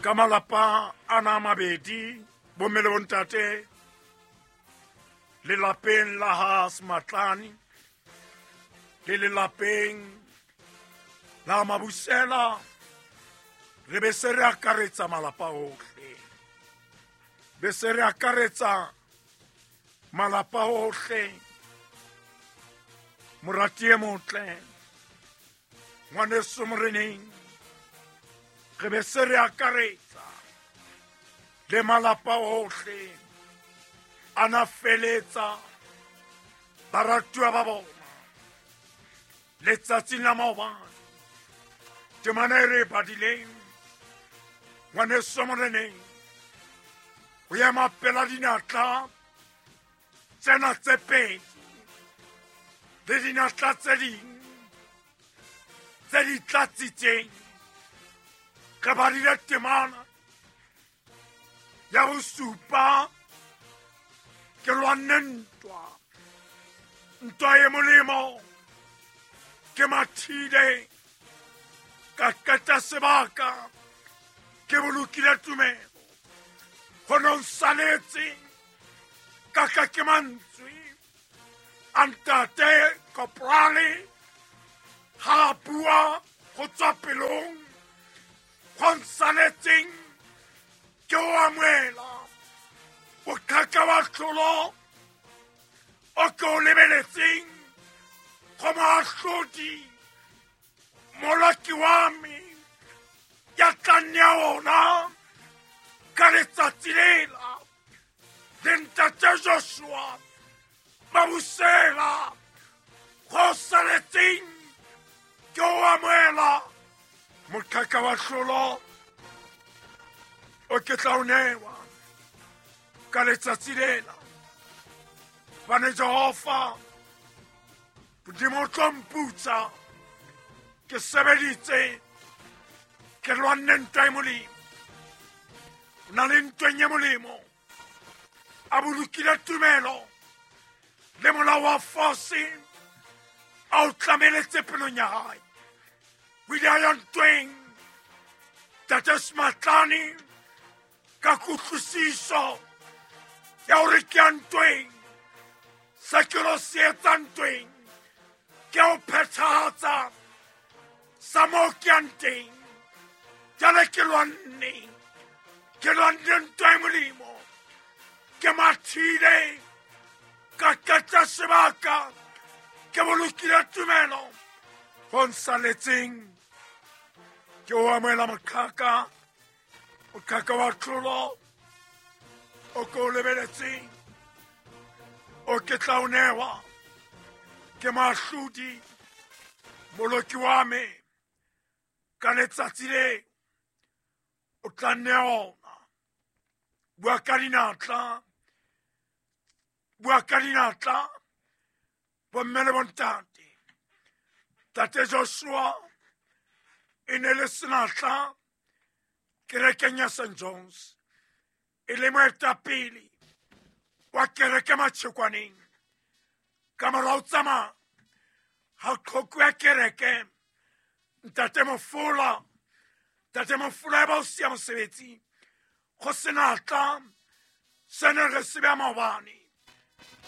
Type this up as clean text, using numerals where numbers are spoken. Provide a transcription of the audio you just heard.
Ka malapa ana a mabedi, bomme le bontate, lelapeng la ha Sematlane le lelapeng la Mabusela, re be se re akaretsa malapa ohle, be se re akaretsa malapa ohle. Morati e motle, ngwaneso moreneng, re be se re akaretsa le malapa ohle a na feletsa baratuwa ba bona letsatsing la maobane. Temana e re e badileng, ngwaneso moreneng, ho ema pela dinatla tsena tse pedi le dinatla tse ding tse di tlatsitseng, re badile temana ya bosupa. Ke lwanne ntwa, ntwa e molemo, ke mathile ka qeta sebaka, ke bolokile tumelo. Ho no saletse ka ka ke mantswe a ntate Koporale ha a bua go tswa pelong. Go nsaletseng ke o amoela boqhaka wa tlholo o ke o lebeletseng go moahlodi moloki wa me ya tla nea ona ka letsatsi lela. Le ntate Joshua Mabusela, go saletseng ke o amoela moqhaka wa tlholo o ke tla o newa ka letsatsi lela, bane Jehova Modimo o tlo mputsa. Ke sebeditse, ke lwanne ntwa e molemo, o na le ntweng e molemo a bolokile tumelo le molao wa fose a o tlameletse pelong ya hae. O ile a ya ntweng tate Sematlane ka kutlwisiso ya hore ke ya ntweng, se ke lo se etsa ntweng ke ho phethahatsa sa moo ke yang teng. Jale ke lwanne, ke lwanne ntwa e molemo, ke mathile ka qeta sebaka, ke bolokile tumelo. Ho nsaletseng ke o amohela moqhaka, moqhaka wa tlholo o ke o lebeletseng, o ke tla o newa ke moahlodi moloki wa me ka letsatsi le o tla nea ona. Bua ka dinatla, bua ka dinatla, bomme le bontate. Tate Joshua e ne le senatla kerekeng ya St Johns, e le moetapele wa kereke Matšhekwaneng. Ka morao tsamaya ga qhoko ya kereke, ntate Mofola, ntate Mofola e ba o sia mosebetsi go senatla se ne re se bja maobane.